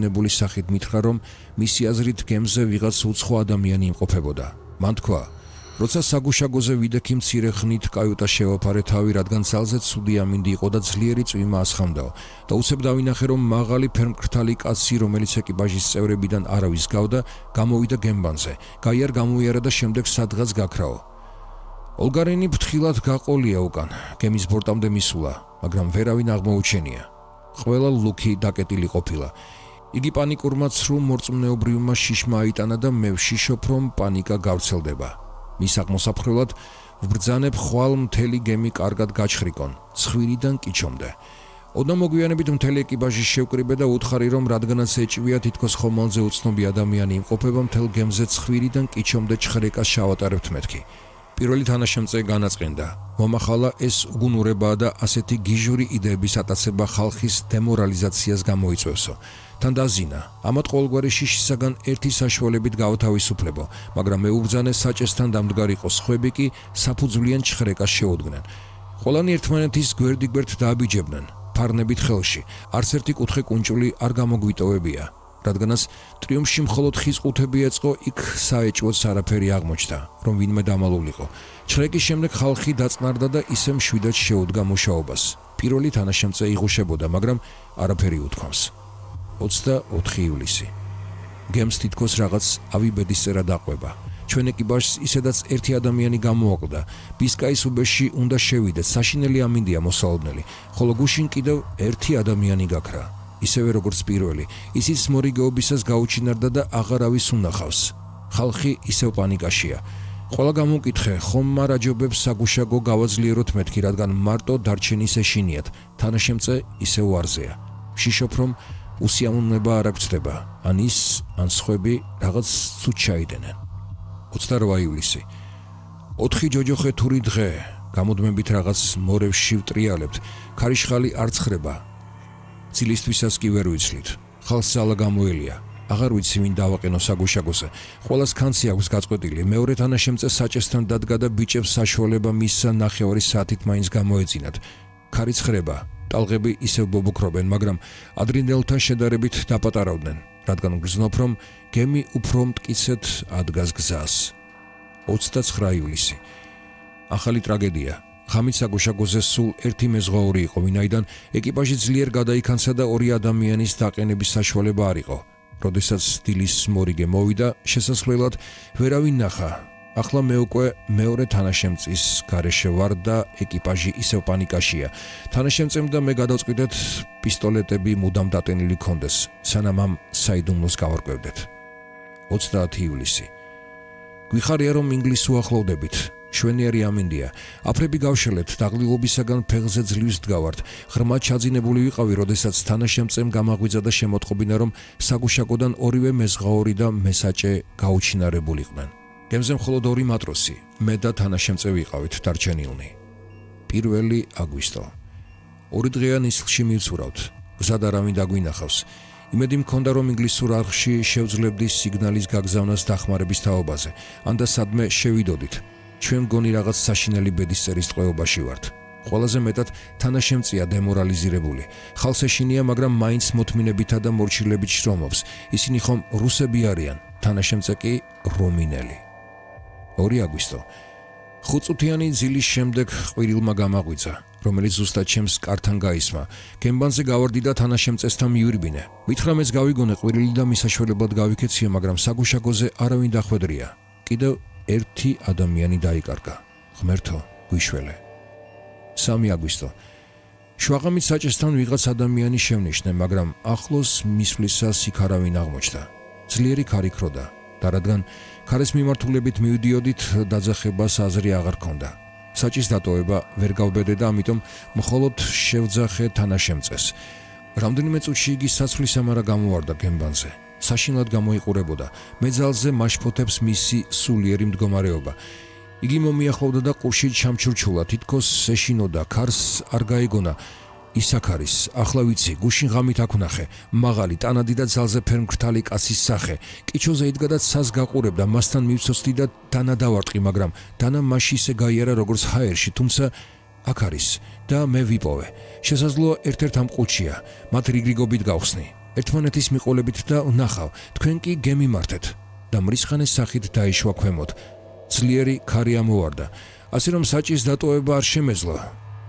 ნებულის სახით მითხრა, რომ მისი აზრით გემზე ვიღაც უცხო ადამიანი იმყოფებოდა. მან თქვა, როცა საგუშაგოზე ვიდექი მცირე ხნით კაიუტა შევაფარე თავი, რადგან ძალზე ცუდი ამინდი იყო და ძლიერი წვიმა ასხამდაო და უცებ დავინახე, რომ მაღალი ფერმკრთალი კაცი, რომელიც ეკიპაჟის წევრებიდან არავის გავდა, გამოვიდა გემბანზე, გაიარ გამოიარა და შემდეგ სადღაც გაქრაო. ოლგარენი ფრთხილად გაყოლია უკან, გემის ბორტამდე მისულა, მაგრამ ვერავინ აღმოუჩენია. ყველა ლუქი დაკეტილი ყოფილა. იგი პანიკურმა ცრუ მორწმუნეობრივმა შიშმა აიტანა და მე ვშიშობ, რომ პანიკა გავრცელდება. მის აღმოსაფხრელად ვბრძანებ ხვალ მთელი გემი კარგად გაჩხრიკონ, ცხვირიდან კიჩომდე. ოდნავ მოგვიანებით მთელი ეკიპაჟი შევკრიბე და უთხარი, რომ რადგანაც ეჭვია თითქოს ხომალდზე უცნობი ადამიანი იმყოფება, მთელ გემზე ცხვირიდან კიჩომდე ჩხრეკას შავატარებთ მეთქი. პირველი თანაშემწე განაწყენდა. მომახალა ეს უგუნურებაა და ასეთი გიჟური იდეების ატაცება ხალხის დემორალიზაციას გამოიწვევსო. თან დაზინა, ამათ ყოველგვარი შიშისაგან ერთი საშუალებით გავთავისუფლებო, მაგრამ მეუბრძანე საჭესთან დამდგარიყო სხვები კი საფუძვლიან ჩხრეკას შეუდგნენ. ყველანი ერთმანეთის გვერდიგვერდ დააბიჯებდნენ, ფარნებით ხელში, არც ერთი კუთხე კუნჭული არ გამოგვიტოვებია. რადგანაც ტრიუმფში მხოლოდ ხის ყუთები ეწყო, იქ საეჭვოც არაფერი აღმოჩნდა, რომ ვინმე დამალულიყო. ჩხრეკის შემდეგ ხალხი დაწყნარდა და ისე მშვიდად შეუდგა მუშაობას. პირველი თანაშემწე იღუშებოდა, მაგრამ არაფერი უთქვამს. 24 ივლისი. გემს თითქოს რაღაც ავიბედისწერა დაყვება. ჩვენ ეკიპაჟს ისედაც ერთი ადამიანი გამოაკლდა. ბისკაის უბეში უნდა შევიდეთ, საშინელი ამინდია მოსალოდნელი, ხოლო გუშინ კიდევ ერთი ადამიანი გაქრა. ისევე როგორც პირველი, ისიც მორიგეობისას გაუჩინარდა და აღარავის უნახავს. ხალხი ისევ პანიკაშია. ყველა გამოკითხე, ხომ მარაჯობებს საგუშაგო გავაძლიეროთ მეთქი, რადგან მარტო დარჩენის ეშინიათ, თანაშემწე ისევ ვარზეა. ვშიშობ, რომ უსიამოვნება არ აგწდება, ან ის, ან სხვები რაღაც ცუდ ჩაიდენენ. 28 ივლისი. 4 ჯოჯოხე თური დღე, გამოდმებით რაღაც მორევში ვტრიალებთ, ქარიშხალი არ ცხრება. ცილისთვისაც კი ვერ ვიცლით. ხალხს ძალა გამოელია. აღარ ვიცი ვინ დავაყენო საგუშაგოზე. ყველას კანცი აქვს გაწყვეტილი. მეორე თანაშემწე საჭესთან დადგა და ბიჭებს საშუალება მისცა ნახევარი საათით მაინც გამოეწინათ. ქარი ცხრება. ტალღები ისევ ბობოქრობენ, მაგრამ ადრინდელთან შედარებით დაპატარავდნენ, რადგან გრძნობ, რომ გემი უფრო მტკიცედ ადგას გზას. 29 ივლისი. ახალი ტრაგედია. ხამით საგუშაგოზე სულ ერთი მეზღვაური იყო, ვინაიდან ეკიპაჟი ძლიერ გადაიქანცა და ორი ადამიანის დაყენების საშუალება არ იყო. როდესაც დილის მორიგე მოვიდა, შესასვლელად ვერავინ ნახა. ახლა მე უკვე მეორე თანაშემწის გარეშე ვარ და ეკიპაჟი ისევ პანიკაშია. თანაშემწემ და მე გადავწყვიტეთ პისტოლეტები მუდამ დატენილი ქონდეს, სანამ ამ საიდუმლოს გავარკვევდეთ. 30 ივლისი. გვიხარია, რომ ინგლისს უახლოვდებით. შვენიერი ამინდია. აფრები გავშელეთ, დაღლილობისაგან ფეხზე ძლივს დგავართ. ღრმა ჩაძინებული ვიყავი, როდესაც თანაშემწემ გამაღვიძა და შემოტყობინა, რომ საგუშაგოდან ორივე მეზღვაური და მესაჭე გაუჩინარებულიყვნენ. გემზე მხოლოდ 2 მატროსი, მე და თანაშემწე ვიყავით დარჩენილნი. 1 აგვისტო. 2 დღეა ნისლში მივცურავთ. გზად არავინ დაგვინახავს. იმედი მქონდა, რომ ინგლისურ არხში შევძლებდი სიგნალის გაგზავნას დახმარების თაობაზე, ან და სადმე შევიდოდით. ჩვენ მგონი რაღაც საშინელი ბედისწერის ტყვეობაში ვართ. ყველაზე მეტად თანაშემწეა დემორალიზირებული. ხალხს ეშინია, მაგრამ მაინც მოთმინებითა და მორჩილებით შრომობს. ისინი ხომ რუსები არიან, თანაშემწე კი რომინელი. 2 აგვისტო. 5 წუთიანი ძილის შემდეგ ყვირილმა გამაღვიძა, რომელიც ზუსტად ჩემს კართან გაისმა. გემბანზე გავარდი და თანაშემწესთან მივირბინე. მითხრა მეც გავიგონე ყვირილი და მისაშველებლად გავიქეციე, მაგრამ საგუშაგოზე არავინ დახვედრია. კიდევ ერთი ადამიანი დაიკარგა. ღმერთო, გვიშველე. 3 აგვისტო. შვაღამით საჭესთან ვიღაც ადამიანი შევნიშნე, მაგრამ ახლოს მისვლისას იქ არავინ აღმოჩნდა. ძლიერი ქარი ქროდა და რადგან ქარის მიმართულებით მივდიოდით, დაძახებას აზრი აღარ ქონდა. საჭის დატოვება ვერ გავბედე და ამიტომ მხოლოდ შევძახე თანაშემწეს. რამდენიმე წუთში იგი საცვლისამარა გამოვარდა გემბანზე. საშინლად გამოიყურებოდა. მეძალზე მაშფოთებს მისი სულიერი მდგომარეობა. იგი მომიახლოვდა და ყურში ჩამჩურჩულა, თითქოს ეშინოდა, ქარს არ გაიგონა. ისაკ არის, ახლა ვიცი, გუშინ ღამით აქ ვნახე, მაღალი, ტანადი და ძალზე ფერმკრთალი კაცის სახე. კიჩოზე იდგა და ცას გაყურებდა, მასთან მივცოცდი და დანა დავარტყი, მაგრამ დანა მაშინ ისე გაიარა, როგორც ჰაერში, თუმცა აქ არის და მე ვიპოვე. შესაძლოა ერთ-ერთ ამ ყუთშია, მათ რიგრიგობით გავხსნი. ერთმანეთის მიყოლებით და ვნახავ, თქვენ კი გემიმართეთ და მრისხანეს სახით დაიშვა ქვემოთ. ძლიერი ქარი ამოვარდა, ასე რომ საჭის დატოვება არ შემეძლო.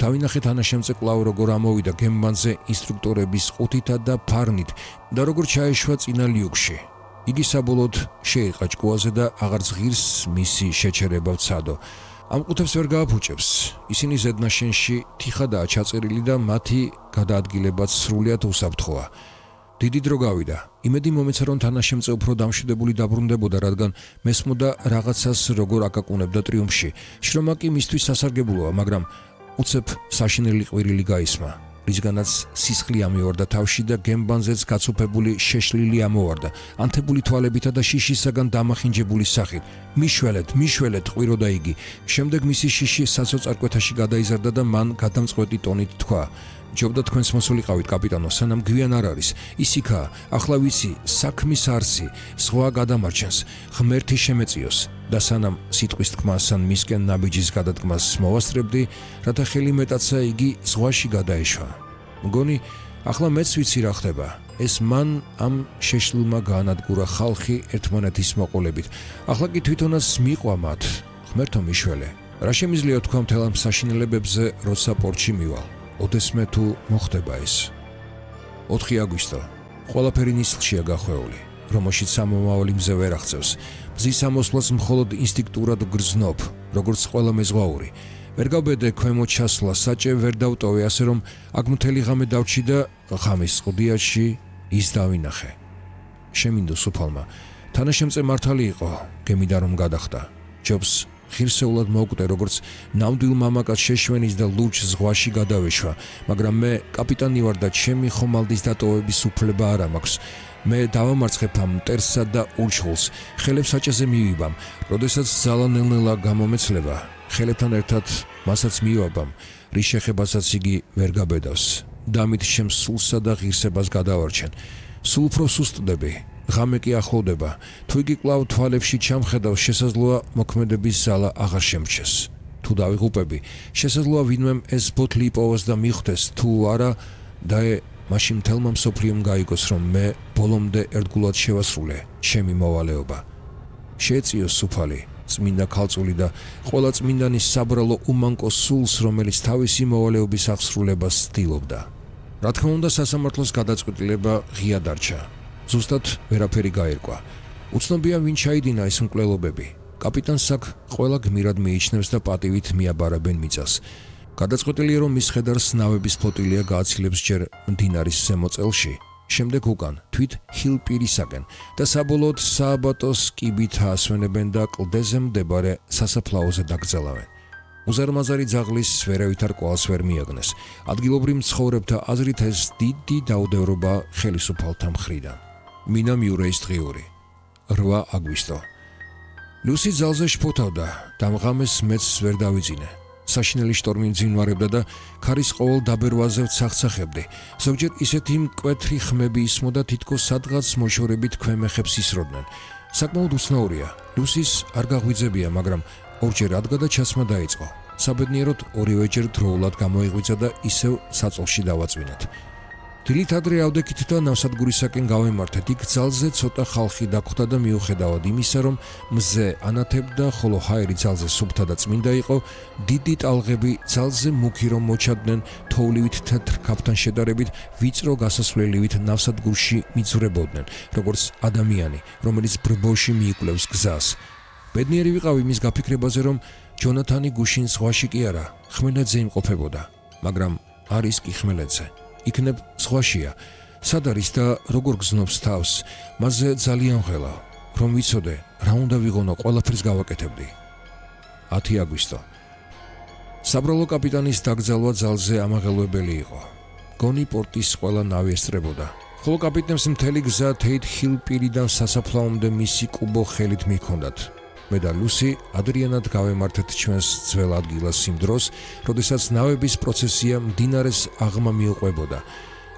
დავინახეთ თანაშემწე კვლავ როგორ ამოვიდა გემბანზე ინსტრუქტორების ყუთითა და ფარნით და როგორ ჩაეშვა წინა ლიუკში. იგი საბოლოოდ შეიყა ჭკუაზე და აღარც ღირს მისი შეჩერება ვცადო. ამ ყუთებს ვერ გააფუჭებს. ისინი ზედნაშენში თიხადაა ჩაწერილი და მათი გადაადგილებაც სრულიად უსაფრთხოა. დიდი დრო გავიდა. იმედი მომეცა რომ თანაშემწე უფრო დამშვიდებული დაბრუნდებოდა, რადგან მესმოდა რაღაცას როგორ აკაკუნებდა ტრიუმფში. შრომა კი მისთვის სასარგებლოა, მაგრამ უცებ საშინელი ყვირილი გაისმა, რისგანაც სისხლი ამივარდა თავში და გემბანზეც გაცოფებული შეშლილი ამოვარდა, ანთებული თვალებითა და შიშისაგან დამახინჯებული სახით. მიშველეთ, ყვიროდა იგი. შემდეგ მისი შიში საცოწარკვეთაში გადაიზარდა და მან გადამწყვეტი ტონით თქვა: ჯობდა თქვენს მოსულიყავით, კაპიტანო, სანამ გვიან არ არის. ისიქაა, ახლა ვიცი, საქმის არსი, ზღვა გადამარჩენს, ღმერთი შემეწიოს და სანამ სიტყვის თქმას ან მისკენ ნაბიჯის გადადგმას მოვასწრებდი, რათა ხელი მეტაცა იგი ზღვაში გადაეშვა. მგონი, ახლა მეც ვიცი რა ხდება. ეს მან ამ შეშლილმა გაანადგურა ხალხი ერთმანეთის მოყოლებით. ახლა კი თვითონაც მიყვა მათ. ღმერთო მიშველე, რა შემიძლია თქვა მთელ ამ საშინელებებზე, როცა პორტში მივალ? ოდესმე თუ მოხდება ეს. 4 აგვისტო. ყველაფერი ნისლშია გახვეული, რომელშიც სამომავალი მზე ვერ აღწევს. მზის ამოსვლას მხოლოდ ინსტინქტურად გრძნობ, როგორც ყველა მეზღვაური. ვერ გავბედე ქვემოთ ჩასვლა, საჭე ვერ დავტოვე, ასე რომ აქ მთელი ღამე დავჭი და ღამის ყდიაში ის დავინახე. შემინდო სუფალმა. თანაშემწე მართალი იყო, გემიდა რომ გადახდა. ჯობს ღირსეულად მოვკვდე, როგორც ნამდვილ მამაკაც შეშვენის და ლურჯ ზღვაში გადავეშვა, მაგრამ მე კაპიტანი ვარ და ჩემი ხომალდის დატოვების უფლება არ მაქვს. მე დავამარცხებ ამ მტერსსა და ურჩხულს, ხელებს საჭეზე მივიბამ, როდესაც ძალა ნელ-ნელა გამომეცლება, ხელებთან ერთად მასაც მივაბამ, რის შეხებასაც იგი ვერ გაბედავს. დამით ჩემს სულსა და ღირსებას გადავარჩენ. სულ უფრო სუსტდები. ღამე კი ახლოვდება. თუ იგი კვლავ თვალებში ჩამხედავს, შესაძლოა მოქმედების ზალა აღარ შემრჩეს. თუ დავიღუპები, შესაძლოა ვინმემ ეს ბოთლი იპოვოს და მიხვდეს, თუ არა, მაშინ მთელმა მსოფლიომ გაიგოს, რომ მე ბოლომდე ერთგულად შევასრულე ჩემი მოვალეობა. შეეწიოს სუფალი, წმინდა ქალწული და ყველა წმინდანის საბრალო უმანკო სულს, რომელიც თავისი მოვალეობის აღსრულებას ცდილობდა. რა თქმა უნდა, სასამართლოს გადაწყვეტილება ღია დარჩა. ზუსტად ვერაფერი გაერკვა. უცნობია ვინ ჩაიდინა ეს მკვლელობები. კაპიტანს აქ ყველა გმირად მიიჩნევს და პატივით მიაბარებენ მიწას. გადაწყვეტილია, რომ მის ხედარს ნავების ფლოტილია გააცილებს ჯერ მდინარის ზემო წელში, შემდეგ უკან, თვით ჰილპირისაკენ და საბოლოოდ სააბატოს კიბით აასვენებენ და კლდეზე მდებარე სასაფლაოზე დაკრძალავენ. უზარმაზარი ძაღლის ვერავითარ კვალს ვერ მიაგნეს. ადგილობრივ მცხოვრებთა აზრით ეს დიდი დაუდევრობა ხელისუფალთა მხრიდან. მინა მიურეის დღიური. 8 აგვისტო. ლუსი ძალზე შფოთავდა, დამღამეს მეც ვერ დავიძინე. საშინელი შტორმი მძინვარებდა და ქარის ყოველ დაბერვაზე ვცახცახებდი. ზოგჯერ ისეთი მკვეთრი ხმები ისმოდა, თითქოს სადღაც მოშორებით ქვემეხებს ისროდნენ. საკმაოდ უცნაურია. ლუსის არ გაღვიძებია, მაგრამ ორჯერ ადგა და ჩასმა დაიწყო. საბედნიეროდ ორივეჯერ დროულად გამოიღვიძა და ისევ საწოლში დავაწვინეთ. დილით ადრე ავდექით და ნავსადგურისაკენ გავემართეთ. იქ ძალზე ცოტა ხალხი დაგვხვდა და მიუხედავად იმისა, რომ მზე ანათებდა, ხოლო ჰაერი ძალზე სუფთა და წმინდა იყო, დიდი ტალღები ძალზე მუქი რომ მოჩადდნენ, თოვლივით თეთრ ქაფთან შედარებით ვიწრო გასასვლელივით ნავსადგურში მიძვრებოდნენ, როგორც ადამიანი, რომელიც ბრბოში მიიკვლევს გზას. ბედნიერი ვიყავი მის გაფიქრებაზე, რომ ჯონათანი გუშინ ზღვაში კი არა, ხმელეთზე იმყოფებოდა, მაგრამ არის კი ხმელეთზე. იქნებ ზღვაშია. სად არის და როგორ გზნობს თავს, მასზე ძალიან ღელა. რომ ვიცოდე, რა უნდა ვიღონო, ყველაფერს გავაკეთებდი. 10 აგვისტო. საბრალო კაპიტანის დაკრძალვა ძალზე ამაღელვებელი იყო. გონი პორტის ყველა ნავი ესწრებოდა. ხოლო კაპიტნებს მთელი გზა თეით ჰილპირიდან სასაფლაომდე მისი კუბო ხელით მიჰქონდათ. მე და ლუსი ადრიანად გავემართეთ ჩვენს ძველ ადგილას იმ დროს, როდესაც ნავების პროცესია მდინარეს აღმა მიუყვებოდა.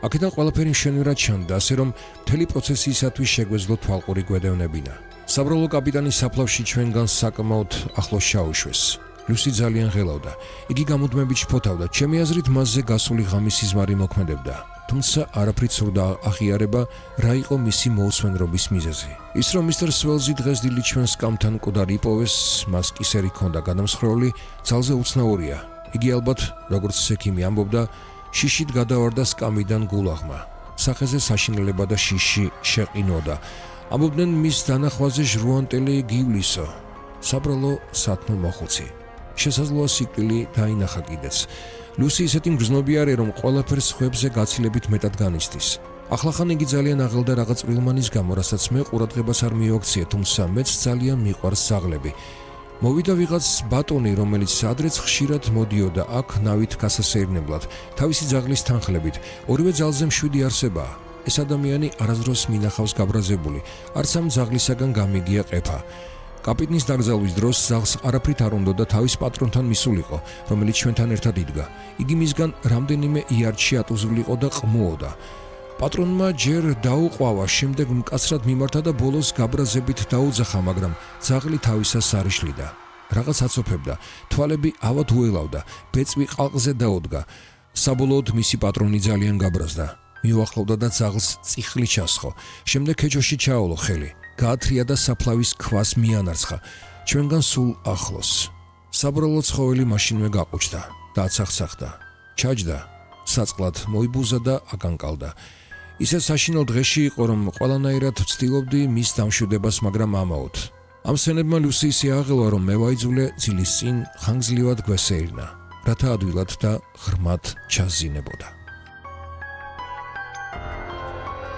აქედან ყველაფერი მშვენივრად ჩანდა, ასე რომ მთელი პროცესიისათვის შეგვეძლო თვალყური გვედევნებინა. საბრალო კაპიტანის საფლავში ჩვენგან საკმაოდ ახლოს ჩაუშვეს. ლუსი ძალიან ღელავდა. იგი გამუდმებით შფოთავდა. ჩემი აზრით მასზე გასული ღამის სიზმარი მოქმედებდა. თუმცა არაფრით სურდა აღიარება, რა იყო მისი მოусვენრობის მიზეზი. ის რომ მისტერ სველზი დღეს დილით ჩვენ სკამთან მკვდარი იპოვეს, მას კისერი ჰქონდა გადამსხრეული, ძალზე უცნაურია. იგი ალბათ, როგორც სექიმი ამბობდა, შიშით გადავარდა სკამიდან გულაღმა. სახეზე საშინელება და შიში შეყინოდა. ამბობდნენ მის დანახვაზე ჟრუანტელი გივლისო. საბრალო სათნო მოხუცი. შესაძლოა სიკვდილი დაინახა კიდეც. ლუსი ისეთი მგრძნობი არის, რომ ყველაფერს ხვებზე გაცილებით მეტად განიცდის. ახლახან იგი ძალიან აღელდა რაღაც წვრილმანის გამო, რასაც მე ყურადღებას არ მივაქციე, თუმცა მეც ძალიან მიყვარს ზაღლები. მოვიდა ვიღაც ბატონი, რომელიც ადრეც ხშირად მოდიოდა აქ ნავით გასასეირნებლად, თავისი ძაღლის თანხლებით. ორივე ძალზე მშვიდი არსებაა. ეს ადამიანი არასდროს მინახავს გაბრაზებული, არც ამ ძაღლისაგან გამიგია ყეფა. კაპიტნის დაკრძალვის დროს ზაღს არაფრით არ უნდა და თავის პატრონთან მისულიყო, რომელიც ჩვენთან ერთად იდგა. იგი მისგან რამდენიმე იარდში ატუზულიყო და ყმუოდა. პატრონმა ჯერ დაუყვავა, შემდეგ მკაცრად მიმართა და ბოლოს გაბრაზებით დაუძახა, მაგრამ ძაღლი თავისას არ იშლიდა. რაღაც აცოფებდა, თვალები ავად უელავდა, ბეწვი ყალყზე დაუდგა. საბოლოოდ მისი პატრონი ძალიან გაბრაზდა. მიუახლოვდა და ძაღლს წიხლი ჩასხო. შემდეგ ქეჩოში ჩაოლო ხელი. გაათრია და საფლავის ქვას მიანარცხა. ჩვენგან სულ ახლოს. საბრალო ცხოველი მაშინვე გაყუჩდა და აცახცახდა. ჩაჯდა, საწყლად მოიბუზა და აკანკალდა. ისეთ საშინელ დღეში იყო, რომ ყველანაირად ვცდილობდი მის დამშვიდებას, მაგრამ ამაოდ. ამ სცენებმა ლუსი ისე აღელვა, რომ მე ვაიძულე ძილის წინ ხანგრძლივად გვესეირნა, რათა ადვილად და ღრმად ჩაზინებოდა.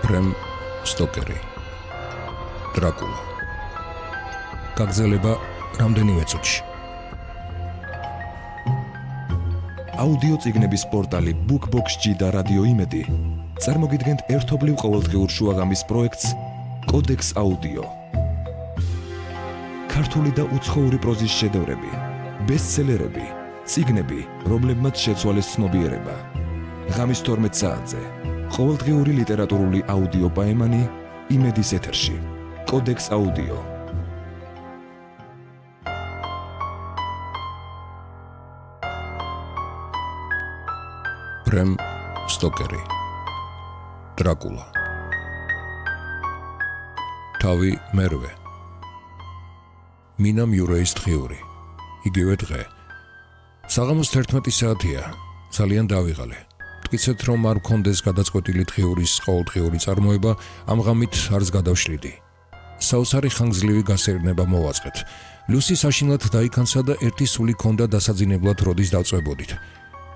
ბრემ სტოკერი, დრაკულა. გაგრძელება რამდენიმე წუთში. აუდიო წიგნების პორტალი BookBox-G და რადიო იმედი წარმოგიდგენთ ერთობლივ ყოველდღიურ შუაღამის პროექტს კოდექს აუდიო. ქართული და უცხოური პროზის შედევრები, ბესტსელერები, წიგნები, რომლებმაც შეცვალეს ცნობიერება. ღამის 12 საათზე ყოველდღიური ლიტერატურული აუდიო პაემანი იმედის ეთერში. კოდექს აუდიო. ბრემ სტოკერი, დრაკულა. თავი მერვე. მინა მიურეის დღიური. იგივე დღე. საღამოს 11 საათია. ძალიან დავიღალე. მტკიცეთ, რომ არ მქონდეს გადაწყვეტილი დღიურის ყოველდღიური წარმოება, ამ ღამით არც გადავშლიდი. საოცარი ხანგრძლივი გასეირნება მოვაწყეთ. ლუსი საშინლად დაიქანცა და ერთი სული ჰქონდა დასაძინებლად როდის დავწვებოდით.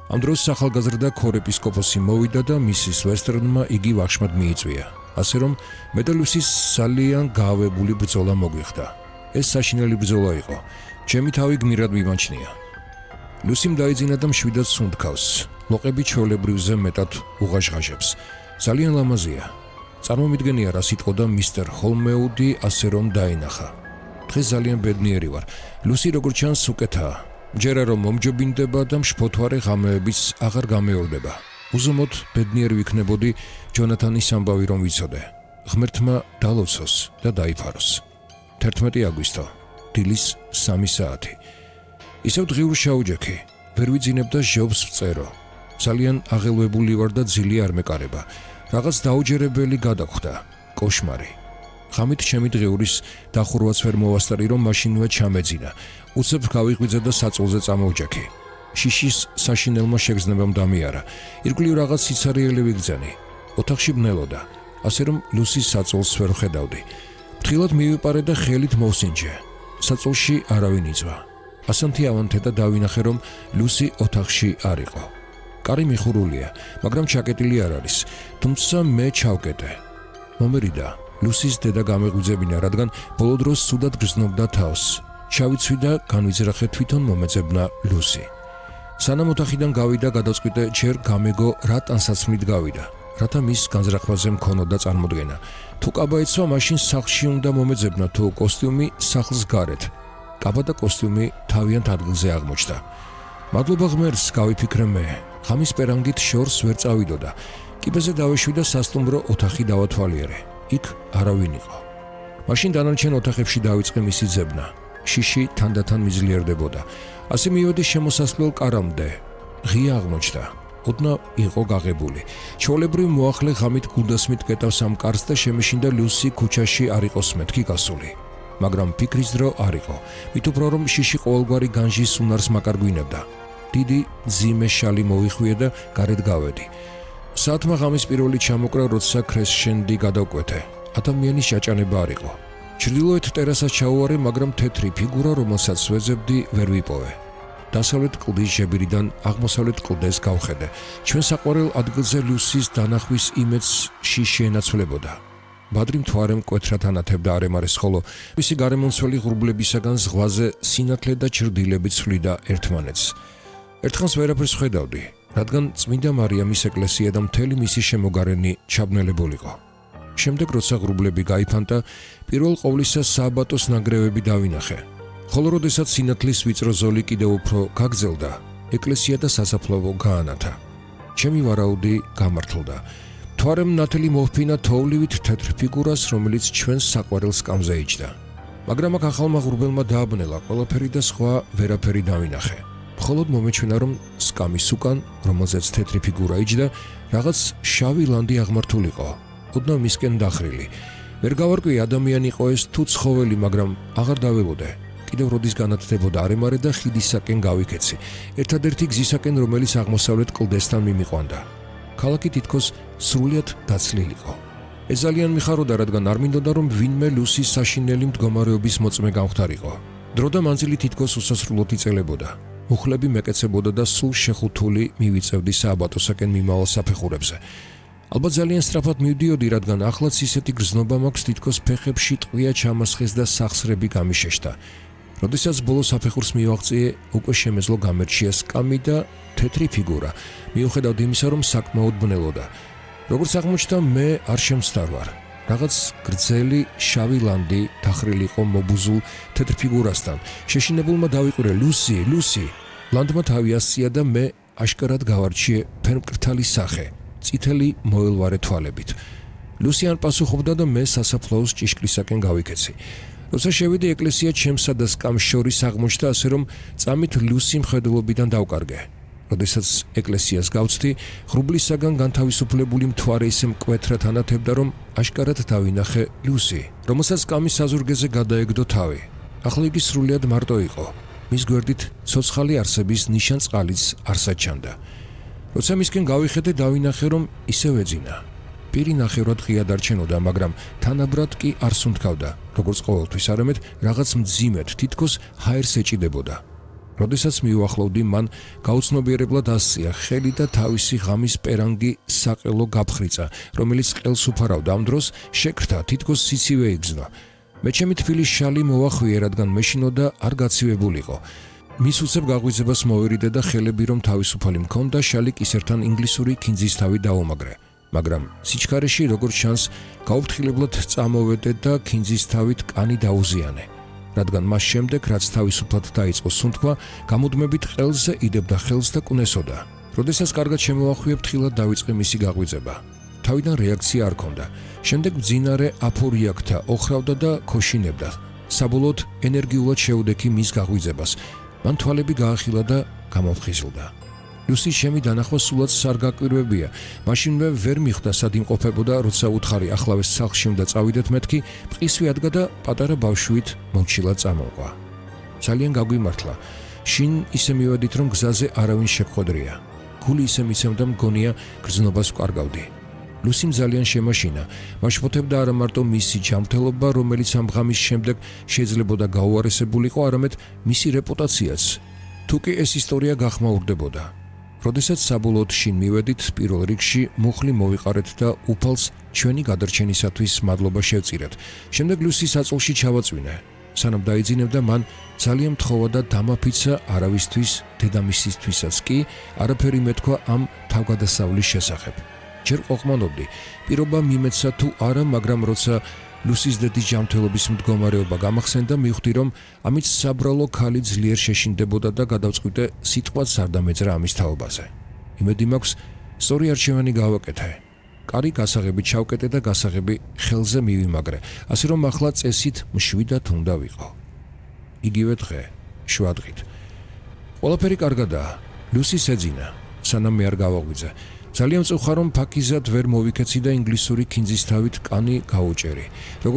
ამ დროს ახალგაზრდა ქორეპისკოპოსი მოვიდა და მისის ვესტერნმა იგი ვახშმად მიიწვია. ასე რომ მე და ლუსის ძალიან გაავებული ბრძოლა მოგვიხდა. ეს საშინელი ბრძოლა იყო. ჩემი თავი გმირად მიმაჩნია. ლუსიმ დაიძინა და მშვიდად სუნთქავს. ლოყები ჩვეულებრივზე მეტად უღაშღაშებს. ძალიან ლამაზია. წარმომიდგენია რა სიტყოდა მისტერ ჰოლმეუდი, ასე რომ დაინახა. დღეს ძალიან ბედნიერი ვარ. ლუსი როგორც ჩანს უკეთაა. მჯერა რომ მომჯობინდება და მშფოთვარე ღამეებიც აღარ გამეორდება. უზომოდ ბედნიერი ვიქნებოდი ჯონათანის ამბავი რომ ვიცოდე. ღმერთმა დალოცოს და დაიფაროს. 11 აგვისტო, დილის 3 საათი. ისევ დღიურ შაუჯექი, ვერ ვიძინებ და ჟობს ვწერო. ძალიან აღელვებული ვარ და ძილი არ მეკარება. რაღაც დაუჯერებელი გადაგხვდა, კოშმარი. ღამით ჩემი დღიურის დახურვაც ვერ მოვასწარი, რომ მაშინვე ჩამეძინა. უცებ გავიღვიძე და საწოლზე წამოვჯექი. შიშის საშინელმა შეგრძნებამ დამიარა. ირგვლივ რაღაც სიცარიელი ვიგრძენი. ოთახში ბნელოდა, ასე რომ ლუსის საწოლს ვერ ხედავდი. ფრთხილად მივიპარე და ხელით მოვსინჯე. საწოლში არავინ იწვა. ასანთი ავანთე და დავინახე, რომ ლუსი ოთახში არ იყო. კარი მიხურულია, მაგრამ ჩაკეტილი არ არის, თუმცა მე ჩავკეტე. მომერიდა ლუსის დედა გამეღვიძებინა, რადგან ბოლო დროს სუდად გრძნობდა თავს. ჩავიცვი და განვიძრახე თვითონ მომეძებნა ლუსი. სანამ ოთახიდან გავიდა, გადაწყვიტე ჯერ გამეგო რა ტანსაცმლით გავიდა, რათა მის განზრახვაზე მქონოდა წარმოდგენა. თუ კაბა ეცვა, მაშინ სახლში უნდა მომეძებნა, თუ კოსტიუმი სახლს გარეთ. კაბა და კოსტიუმი თავიანთ ადგილზე აღმოჩნდა. მადლობა ღმერთს, გავიფიქრე მე. ღამის პერანგით შორს ვერ წავიდოდა. კიბეზე დავეშვი და სასტუმრო ოთახი დავათვალიერე. იქ არავინ იყო. მაშინ დანარჩენ ოთახებში დავიწყე მისი ძებნა. შიში თანდათან მიძლიერდებოდა. ასე მივედი შემოსასვლელ კარამდე. ღია აღმოჩნდა. ოდნავ იყო გაღებული. ჩვეულებრივ მოახლე ღამით გულდასმით კეტავს ამ კარს და შემეშინდა ლუსი ქუჩაში არ იყოს მეთქი გასული. მაგრამ ფიქრის დრო არ იყო. მით უფრო რომ შიში ყოველგვარი განჟის უნარს მაკარგვინებდა. დიდი ძიმე შალი მოიხვია და გარეთ გავედი. საათმა ღამის პირველი ჩამოკრა, როცა ქრესშენდი გადავკვეთე. ადამიანის შეჭანება არ იყო. ჩრდილოეთ ტერასას ჩაუარე, მაგრამ თეთრი ფიგურა, რომელსაც ვეძებდი, ვერ ვიპოვე. დასავლეთ კლდის ჟებირიდან აღმოსავლეთ კლდეს გავხედე. ჩვენ საყვარელ ადგილზე ლუსის დანახვის იმედს შიში ენაცვლებოდა. ბადრი მთვარე მკვეთრად ანათებდა არემარეს, ხოლო მისი გარემომცველი ღრუბლებისაგან ზღვაზე სინათლე და ჩრდილები ცვლიდა ერთმანეთს. ერთხანს ვერაფერს ხედავდი, რადგან წმინდა მარიამის ეკლესია და მთელი მისი შემოგარენი ჩაბნელებულიყო. შემდეგ როცა ღრუბლები გაიფანტა, პირველ ყოვლისა სააბატოს ნანგრევები დავინახე. ხოლო როდესაც სინათლის ვიწრო ზოლი კიდევ უფრო გაგრძელდა, ეკლესია და სასაფლაო გაანათა. ჩემი ვარაუდი გამართლდა. მთვარემ ნათელი მოჰფინა თოვლივით თეთრ ფიგურას, რომელიც ჩვენს საყვარელ სკამზე იჯდა. მაგრამ აქ ახალმა ღრუბელმა დააბნელა ყველაფერი და სხვა ვერაფერი დავინახე. მხოლოდ მომეჩვენა, რომ სკამის უკან, რომელზეც თეთრი ფიგურა იჯდა, რაღაც შავი ლანდი აღმართულიყო. ოდნავ მისკენ დახრილი. ვერ გავარკვი ადამიანი იყო ეს თუ ცხოველი, მაგრამ აღარ დაველოდე. კიდევ როდის განათდებოდა არემარე და ხიდისაკენ გავიქეცი. ერთადერთი გზისაკენ, რომელიც აღმოსავლეთ კლდესთან მიმიყვანდა. ქალაქი თითქოს სრულიად დაცლილიყო. ეს ძალიან მიხაროდა, რადგან არ მინდოდა, რომ ვინმე ლუსის საშინელი მდგომარეობის მოწმე გამختარიყო. დრო და მანძილი თითქოს უსასრულოდ იწელებოდა. მუხლები მეკეცებოდა და სულ შეხუთული მივიწევდი სააბატოსაკენ მიმავალ საფეხურებზე. ალბათ ძალიან სწრაფად მივდიოდი, რადგან ახლაც ისეთი გრძნობა მაქვს, თითქოს ფეხებში ტყვია ჩამასხეს და სახსრები გამიშეშდა. როდესაც ბოლო საფეხურს მივაღწიე, უკვე შემეძლო გამერჩია სკამი და თეთრი ფიგურა. მიუხედავად იმისა, რომ საკმაოდ ბნელოდა. როგორც აღმოჩნდა, მე არ შემცდარ ვარ. რაღაც გრძელი შავი ლანდი დახრილი იყო მობუზულ თეთრ ფიგურასთან. შეშინებულმა დავიყურე, ლუსი, ლუსი. ლანდმა თავი ასწია და მე აშკარად გავარჩიე ფერმკრთალი სახე, წითელი მოელვარე თვალებით. ლუსი არ პასუხობდა და მე სასაფლაოს ჭიშკრისაკენ გავიქეცი. როცა შევედი ეკლესია ჩემსა და სკამს შორის აღმოჩნდა, ასე რომ წამით ლუსი მხედველობიდან დავკარგე. როდესაც ეკლესიას გავწვდი, ღრუბლისაგან განთავისუფლებული მთვარე ისე მკვეთრად ანათებდა, რომ აშკარად დავინახე ლუსი, რომელსაც სკამის საზურგეზე გადაეგდო თავი. ახლა იგი სრულიად მარტო იყო. მის გვერდით ცოცხალი არსების ნიშანწყალიც არ საჩანდა. როცა მისკენ გავიხედე, დავინახე, რომ ისევ ეძინა. პირი ნახევრად ღია დარჩენოდა, მაგრამ თანაბრად კი არ სუნთქავდა, როგორც ყოველთვის, არამედ რაღაც მძიმედ, თითქოს ჰაერს ეჭიდებოდა. როდესაც მივახლოვდი, მან გაუცნობიერებლად ასწია ხელი და თავისი ღამის პერანგი საყელო გაფხრიცა, რომელიც ყელს უფარავდა. ამ დროს შეკრთა, თითქოს სიცივე იგრძნო. მე ჩემი თბილის შალი მოვახვიე, რადგან მეშინოდა არ გაცივებულიყო. მის უცებ გაღვიძებას მოვერიდე და ხელები რომ თავისუფალი მქონდა, შალი კისერთან ინგლისური ქინძის თავი დაუმაგრე. მაგრამ სიჩქარეში, როგორც ჩანს, გაუფრთხილებლად წამოვედე და ქინძის თავით კანი დაუზიანე. რადგან მას შემდეგ, რაც თავისუფლად დაიწყო სუნთქვა, გამუდმებით ყელზე იდებდა ხელს და კუნესოდა. როდესაც კარგად შემოვახვიე, ფრთხილად დავიწყე მისი გაღვიძება. თავიდან რეაქცია არ ჰქონდა. შემდეგ მძინარე აფორიაქთა ოხრავდა და ქოშინებდა. საბოლოოდ ენერგიულად შეუდექი მის გაღვიძებას. მან თვალები გაახილა და გამომხიზლდა. ლუსის ჩემი დანახვა სულაც არ გაკვირვებია. მაშინვე ვერ მიხვდა სად იმყოფებოდა, როცა უთხარი ახლავეს სახლში უნდა წავიდეთ, მეთქი მყისვი ადგა და პატარა ბავშვით მომჩილად წამოყვა. ძალიან გაგვიმართლა. შინ ისე მივედით, რომ გზაზე არავინ შეგხვედრია. გული ისე მიცემდა, მგონია გრძნობას ვკარგავდი. ლუსიმ ძალიან შემაშინა. მაშფოთებდა არა მარტო მისი ჯანმრთელობა, რომელიც ამ ღამის შემდეგ შეიძლებოდა გაუარესებულიყო, არამედ მისი რეპუტაციაც. თუკი ეს ისტორია გახმაურდებოდა. როდესაც საბოლოოდ შინ მივედით, პირველ რიგში მუხლი მოვიყარეთ და უფალს ჩვენი გადარჩენისათვის მადლობა შევწირეთ. შემდეგ ლუსის აწოლში ჩავაწვინე. სანამ დაიძინებდა, მან ძალიან მთხოვა და დამაფიცა არავისთვის, დედამისისთვისაც კი არაფერი მეთქვა ამ თავგადასავლის შესახებ. ჯერ ყოყმანობდი, პირობა მიმეცა თუ არა, მაგრამ როცა ლუსის დედის ჯანმრთელობის მდგომარეობა გამახსენდა, მივხვდი, რომ ამით საბრალო ქალი ძლიერ შეშინდებოდა და გადავწყვიტე სიტყვაც არ დამეძრა ამის თაობაზე. იმედი მაქვს, სწორი არჩევანი გავაკეთე. კარი გასაღები ჩავკეტე და გასაღები ხელზე მივიმაგრე, ასე რომ ახლა წესით მშვიდად უნდა ვიყო. იგივე დღე, შვადღით. ყველაფერი კარგადაა. ლუსის ეძინა, სანამ მე არ გავაღვიძე. ძალიან მწუხარ, რომ ფაქიზად ვერ მოვიქეცი და ინგლისური ქინძის თავით კანი გაუჭერი.